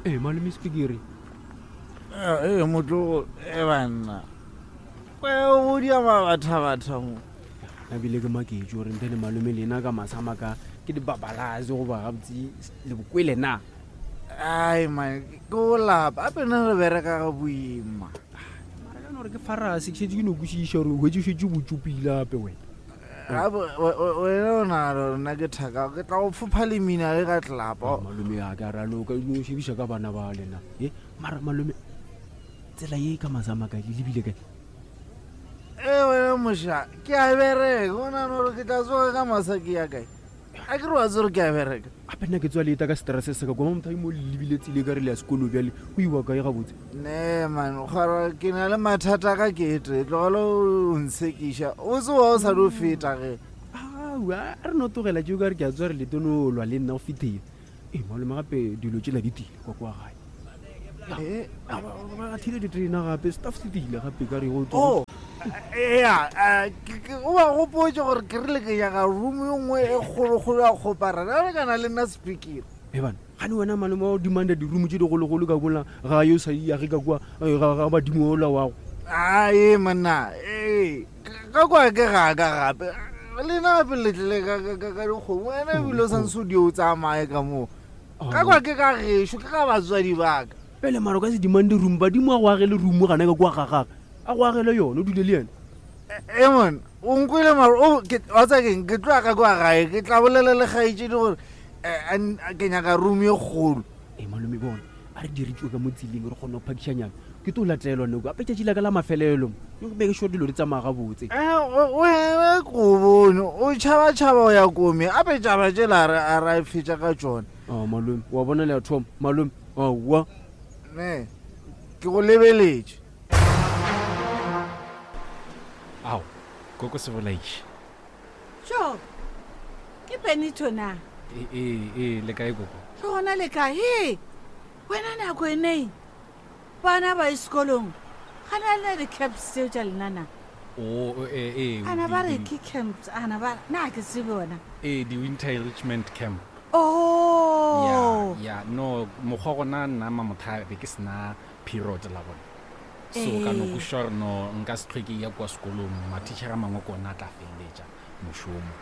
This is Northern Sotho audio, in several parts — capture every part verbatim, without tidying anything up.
Ee, malome Sepikiri. Ee, motlogo e banna o dia mabathabatha mo. Ebile ke maketše gore nte le malome lena ka masama ka ke dibabalase goba gabotse le bokwele na. Ai man, ke o lapa ape nna re bereka ga boima. Mara ka no gore ke farase ke šetše ke no kwešiša gore o hwetše šetše botsopile gape wena. Gape wena o nagana gore nna ke thaka, ke tla go fopha le mina ge ka tlelapa. Malome a ke a raloka no šebiša ka bana ba lena. E mara malome tsela ye ka masama kae le lebile kae? E wena moša, ke a bereka, o nagana gore ke tla tsoga ka masa ke ya kae? A ke re wa tsere ke a bereka. Gape nna ke tswa leta ka stress se ka kwa motho mo le lebile tsile ka re le ya sekolo bjale o iwa kae gabotse? Ne man, kgwara ke na le mathata ka kete, tlogela o ntshekiša. O tsoga o sa dio feta ge. Aowa, a re no tlogela tšeo ka re ke a tswa re leto no lwa le nna go fetile. Ee, malome gape dilo tšela di tile kwa kwa gae. Eh, Ba thile diterena gape, staff se tile gape ka re go Oh, ea, o ba gopotse gore ke rile ke nyaka room e nngwe e kgolokgolo ya kgoparara, re kana le nna Sepikiri. E bana, gane wena malome wa o demanda di-room tše digologolo ka kola ga yo sa yage ka kua ga ga badimo ola wago. Ae monna, ee, ka kwa ke ga ka gape. Le nna gape le tlile ka ka ka dikgomo, wena ebile o santse o di o tsamaye ka moo. Ka kwa ke ka gešo, ke ka batswadi ba ka. Pele mara o ka se demande room, badimo a go agele room gana ka kwa ga gagwe. A go agele yona, o dule le yena. E mon, o nkwele mara o ke wa tsa keng, ke tloga ka kwa gae, ke tla bolela le kgaetšedi gore ke nyaka room e kgolo. E malome bona, a re diritšwe ka mo tseleng re kgone go phakišanyana. Ke tlo latelwa nako, gape tšatši la ka la mafelelo. Ke make sure dilo di tsamaya gabotse. Wena ko bone, o tšhaba-tšhaba o ya kome, ape tšaba tšela a re a fetša ka tšona. Ah, malome, wa bona le ya thoma, malome, aowa. Ne, ke go lebeletše. Ao, koko se bolaiše. Tšo, ke Benito na? E, e, e, le kae koko? Ke gona le kae? He, wena nako e neng? Bana ba sekolong, ga na le di-camps tseo tša lena na? O, e, e, Ana ba re ke camps, ana ba, na ke tsebe wena. E, di-winter enrichment camp. Oh. Ya, ya, no, mokgwa gona nna Mamothabe be ke sena period la bona. So ka no kwešiša gore no nka se hlwe ke ya kwa sekolong, mathišere a mangwe ke ona a tla feleletša mošomo.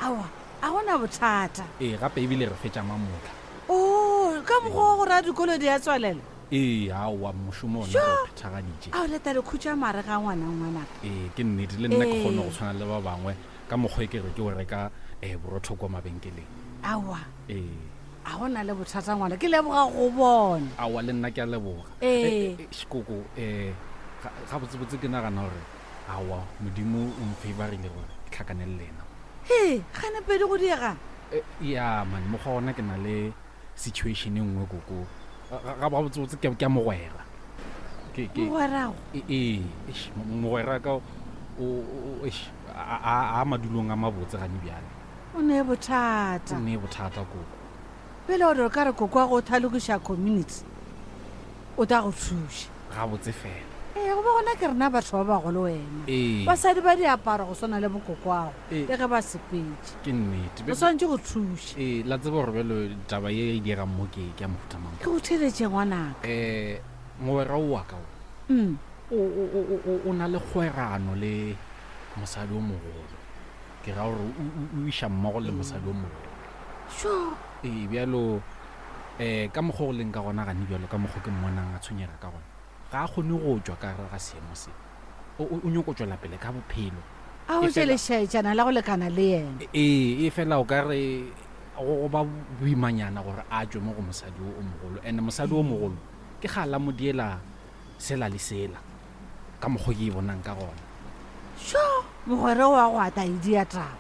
Aowa, a gona bothata. Ee, gape ebile re fetša mamotla. Oh, ka mokgwa wa gore a dikolo di a tswalela? Ee, aowa, mošomo ona re o phethagaditše. Ao, leta le khutša mare ga ngwana ngwanaka. Ee, ke nnete, le nna ke kgone go tshwana le ba bangwe ka mokgwa e ke re ke o reka um borotho kwa mabenkeleng. Aowa. Ee. A gona le bothata ngwana, ke leboga go bona. Aowa, le nna ke a leboga. Ee. Šikoko, um gabotsebotse ke nagana gore aowa, Modimo o mfavorile gore ke tlhakane le lena. He, gane pedi go diega? Ya man, mokgwa ona ke na le situation e nngwe koko. Gabotsebotse ke a mogwera. Ke ke Mogwerago? Ee, eish, mogwera ka o eish, a a madulong a mabotse gane bjale. O ne bothata. O ne bothata koko. Pele o re ka re koko wa go thalokiša community, o tla go thuša. Gabotse fela. Ee, go ba gona ke rena batho ba bagolo wena. Ee. Basadi ba diaparo go swana le bokoko Ee. le ge ba sepetse. Ke nnete. O swanetše go thuša. Ee, la tseba gore bjalo taba ye e dirang mo ke ke ya mohuta mang. Ke go theletše ngwanaka. Eh, mogwera o wa ka o. Mm. O, o, o, o, o na le kgwerano le mosadi o mogolo. Ke ra gore o, o, o iša mmogo le mosadi o mogolo. Sure. Ee, bjalo eh ka mokgwa o leng ka gona gane bjalo ka mokgwa ke mmonang a tshwenyega ka gona. Ga a kgone go tšwa ka gare ga seemo se. O, o, o nyako tšwela pele ka bophelo. A o E fela- tšelešaetšana la go lekana le yena. Ee, e fela o ka re go ba boimanyana gore a tšwe mo go mosadi o mogolo. And mosadi o mogolo ke ga la mo diela sela le sela ka mokgwa ke e bonang ka gona. Sure, mogwera wa go ata e dia taba.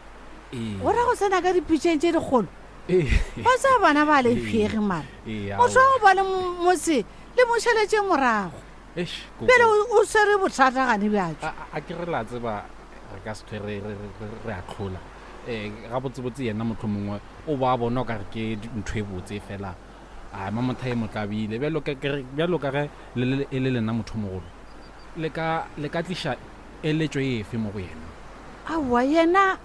Ee. Go ra go tsena ka dipitšeng tše dikgolo. Ee. Ba tsaya bana ba le phege mara. Ee, Motho wa aowa. go ba le motse le mo šaletše morago. Eish, koko. Pele o, o swere bothata gane bjatšo. A, a ke re la tseba re ka se hlwe re, re, re, re a tlhola. Eh, gabotsebotse yena motho mongwe o ba bona o ka re ke ntho e botse fela. A Mamothae e mo tlabile. Bjalo ka ke re, bjalo ka ge le, le, e le lena motho mogolo. Le ka, le ka tliša eletšo efe mo go yena? Aowa, yena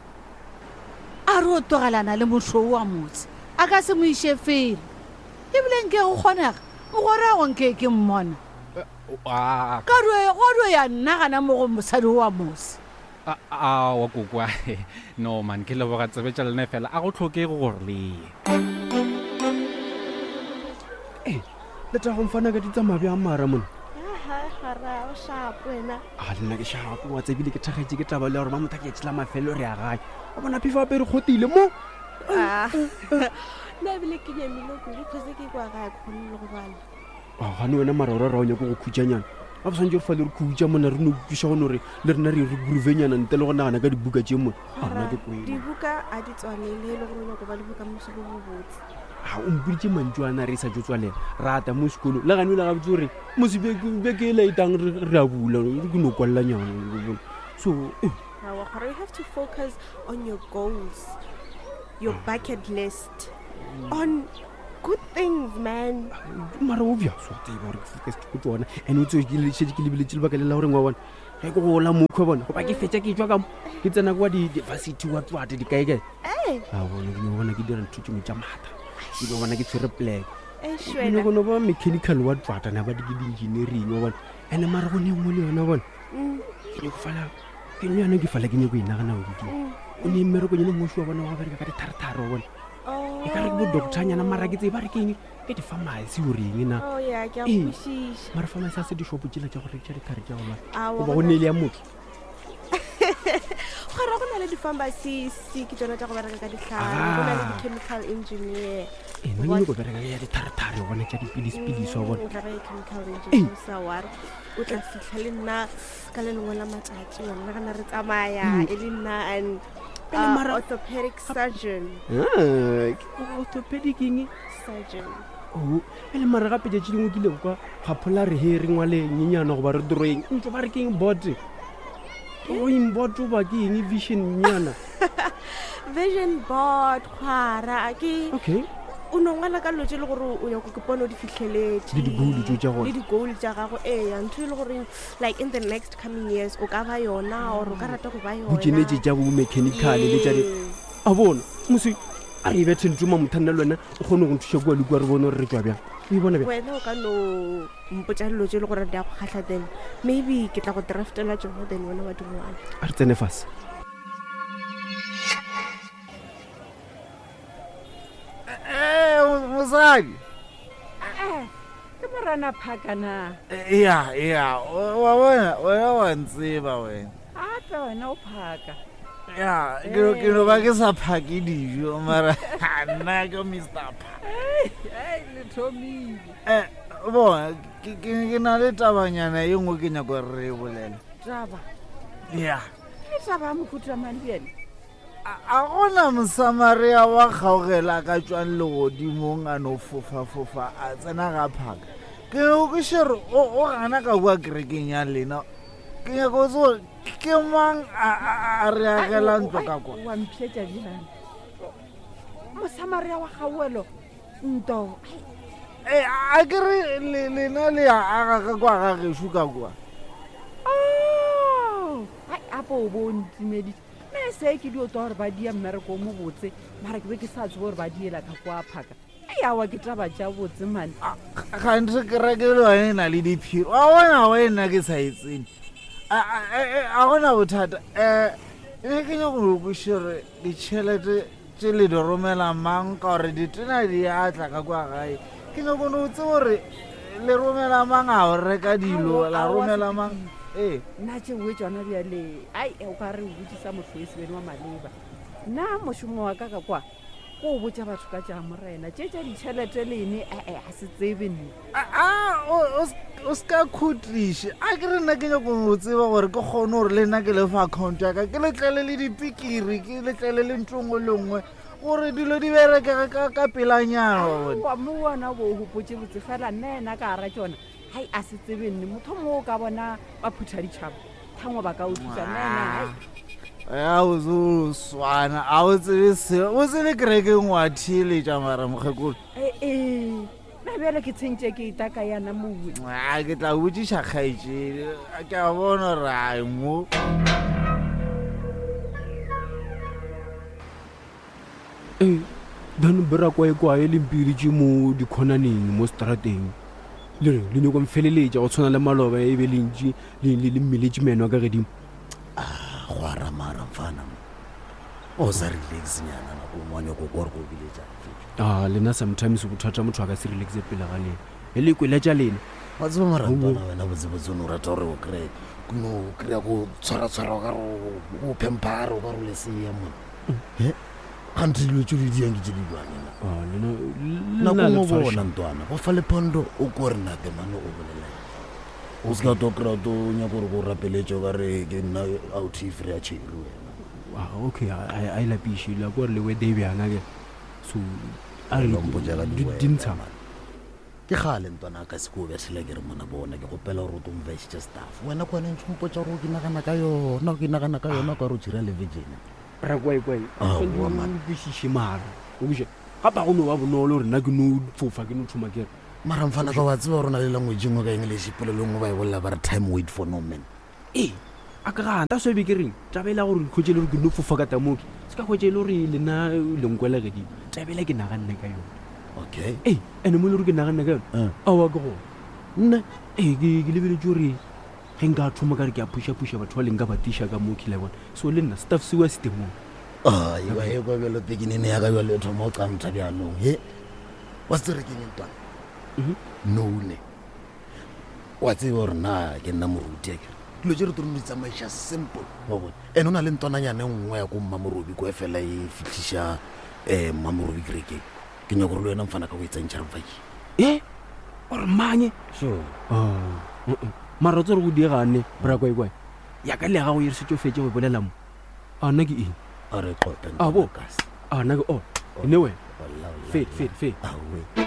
a re o tlogelana le motho wa motse, a ka se mo iše felo. Ebile nke go kgonega, Mogwera go nke ke mmona. A Ka dio go dio ya nna gana mo go mosadi wa mose. a wa kokwa. No man, ke leboga tsebe tša lena fela a go tlhokege gore le ye. Ee, le tla go mfana ka di tsamaya bjang mara mona? Aha, gara o shapo wena. A le nna ke shapo wa tsebile ke thakgetše ke taba le ya gore mamotha ke tšela mafelelo re ya gae. O bona phefo apere kgotile mo. Ah. Nna ebile ke nyamile kudu cause ke kwa gae ke kgone le go bala. A gane wena mara ora ra o nyako go khutšanyana. A bo swantse re fale re khutša mona re no kweša gone gore le rena re re groovenyana ntle le go nagana ka dibuka tše mona. A nna Gara, ke kwele. dibuka a di tswalele e le gore o nyako ba le bokamoso bo bo botse. A o mpoditše mantšu ana re sa tšo tswalela. Rata mo sekolong. Le gane o le gabotse gore mose beke beke e laetang re re a bula ke no kwalelanyana. So eh, Aowa, gore you have to focus on your goals, your bucket list, on good things, man. Mara obvious wa tseba gore ke focused go tsona. And o tsebe ke le šetše ke lebeletše lebaka le la gore wa bona ge ke gola mokhwe bona goba ke fetša ke tšwa ka mo ke tsena kwa di-varsity wa tswate dikaekae. Ee, A bona ke no bona ke dira ntho tše dingwe tša maatla. Ke no bona ke tshwere plek. eish Ke wena. nyako no ba mechanical wa tswata na ba di ke di-engineering wa bona. And mara go ne nngwe le yona bona. Mm, Ke nyako fala ke le yona ke fala ke nyako e nagana go ke. mm. O ne mmereko nyane moši wa bona wa go bereka ka ditharetare wa bona. Oh. E ka re ke bo doctor-nyana mara ke tsebe ba re ke eng ke di-pharmacy o reng na. Oh yeah, ke a Ee. kwešiša. Mara pharmacy a se dishopo tšela tša go rekiša ditlhare tša go lwala. Aowa, Goba go go na- neele ya motho. Gore go na le di-pharmacist ke tsona tša go bereka ka ditlhare, go na le Ah. di-chemical engineer. Ee, nna ke nyako bereka ya ditharetare wa bona tša dipilisi-pilisi wa bona. Mm, o tla ba ye chemical engineer o sa worry. O tla fitlha le nna ka le lengwe la matšatši wa nna gana re tsamaya e le nna and Pele uh, mara- orthopedic surgeon. Ah, ke orthopedic eng? Surgeon. Oh, pele mara gape tšatši lengwe ke ile kwa gaphola re he re ngwale nyenyana goba re drawing ntlo ba re ke eng board drawing board goba ke eng vision nyana. Vision board kgwara ke Okay. o no ngwala ka dilo tše e le gore o nyako ke pone o di fitlheletse Le di-goal tseo tša gona. le di-goal tša gago ee ntho e le goreng like in the next coming years o ka ba yona or o ka rata go ba yona Botšenetše tša bo mechanical le tša di Yes. a bona mose a re e bethe ntho mamothanna le wena o kgone go nthuša kua le kua re bone gore re tswa bjang. O e bona bjang? Wena o ka no mpotša dilo tše e le gore di a go kgatlha then maybe ke tla go draftela tsona then wena wa di ngwala. A re tsene fase. Ee, mosadi. Eh, ke morana phaka na. Ya, ya, wa bona, wena wa ntseba wena. Gape wena o phaka. Ya, ke no- ke no ba ke sa phake dijo mara nna ke Mister Phaka. Ei, le thomile. Eh, bona, ke ke ke na le tabanyana ye nngwe ke nyako gore re e bolele. Taba. Ya. Ke taba ya mohuta mang bjale? A a gona Mosamaria wa kgaogela a ka tšwang legodimong a no fofa-fofa a tsena ga phaka. Ke nyako kwešiša gore o o gana ka kua kerekeng ya lena. Ke nyako go tseba gore ke mang a a- a re agela ntlo ka kwa. Wa mpšhetša bjang. Mosamaria wa kgaoelo nto. Ee, a ke re le- lena le a aga ka kwa ga gešo ka kwa. Oh, ai apo o bo o ntimeditše. Nna se ke dio twa gore ba dia mmereko o mobotse, mara ke be ke sa tsebe gore ba diela ka kwa phaka. Ei, aowa ke taba tša botse mane. Ganthe kereke le yone e na le diphiri. Wa bona wena ke sa e tsene. A a- a- a gona bothata. Um ne ke nyako go kwešiša gore ditšhelete tše le di romela mang ka gore ditena di a tla ka kwa gae. Ke nyako no tseba gore le romela mang a go reka dilo Aowa, la aowa, romela mang. Ee. Nna tšeo tsona bjale ai o ka re o botsisa motho e sebene wa maleba. Nna mošomo wa ka ka kwa ko o botša batho ka tša morena tše tša ditšhelete lene ee a se tsebe nne. A a, o- o s- o ska khutliše. A ke re nna ke nyako go tseba gore ke kgone gore le nna ke lefa account ya ka ke letlele le dipikiri ke letlele le ntho nngwe le nngwe gore dilo di berekege ka ka pelanyana wa bona. Wa mo ona bo o gopotse botse fela nna ena ka gara tsona hai a se tsebe nne motho mongwe o ka bona ba phutha ditšhaba thangwe ba ka o thusa nna ena hai Ya o se o swana a o tsebe selo o tsebe kerekeng wa theeletša mara mokgekolo. ee nna bjale ke tshentše ke itaka yana mowe. A ke tla botšiša kgaetšedi ke a bona gore ai mo. Ee, then bera kwae kwae le mpiritše mo dikhonaneng mo strateng. Le re le nyako mfeleletša go tshwana le maloba e be lentši le le le mmeletše meno a ka gedimo. Go aramara mfana mo o sa relax nyana nako nngwe wa nyako kwa gore ko biletša. A lena sometimes bothata motho a ka se relaxe pele ga lena e le kweletša lena. Wa tseba marantwana wena botsebotse o ne o rata gore o kry-e no o kry-a go tshwaratshwara o ka re o phemphare o ka re o lesea mona e gante dilo tse di diang ke tse di bjang? Ah, lena nako lena le ngwe tshwariša. bona ntwana go fa lephondo o ko re natemane o bolela o se ka to kry-a to nyako gore ko rapeletse o ka re ke nna out free ya tšheri wena. Ah, okay, a a- a e lapiše la ko re le wede e bjang ake so a re Lo mpotša ka di- di-weather, dintsha man. Ke gale ntwana a ka se ko o bethela ke re mona bona ke gopela gore o to mvaisitše staff wena ke wena ntse mpotša gore o ke nagana ka yona o ke nagana ka yona o ka re o tšhira le virgin. Rakwaikwai. Aowa, man. Kwešiše mara o kweše gape go no ba bonolo gore nna ke no fofa ke no thoma kere. Mara mfana ka wa tseba gore o na le language e nngwe ka english polelo nngwe ba e bolela ba re time wait for no man. Ee, a ka gana ta swebe ke reng taba e la gore kgwetse le gore ke no fofa ka tamoke se ka kgwetse e le gore lena lenkwela gedimo taba ela ke naganne ka yone. Okay. Ee, ande mo e le gore ke naganne ka yone Eh. aowa ke gona. Nne. Ee, ke ke lebeletse gore ge nka thoma ka re ke a phušaphuša batho ba leng ka batiša ka mo kile bona so le nna staff sewa se temong. Aiwa e kwa bjalo pekinene ya ka bjalo e thoma go qamtha bjanong he wa se tsere keng ntwana none wa tseba gore na ke nna moruti akere dilo tse re tlo di tsamaiša simple wa bone and o na le ntwananyane nngwe ya ko mmamorobi ko e fela e fitlhiša um mmamorobi kerekeng ke nyako gore le wena mfana ka go e tsentšha re mfaki. E ore manye. Sure. Ah, uh-uh. Mara tse re go diegane brakwaikwai ya ka le ya gago e re setse o fetse go bolela mo a nna ke eng? A re qope. A bo. A nna ke o ne wena. Fete, fete, fete. Aowe.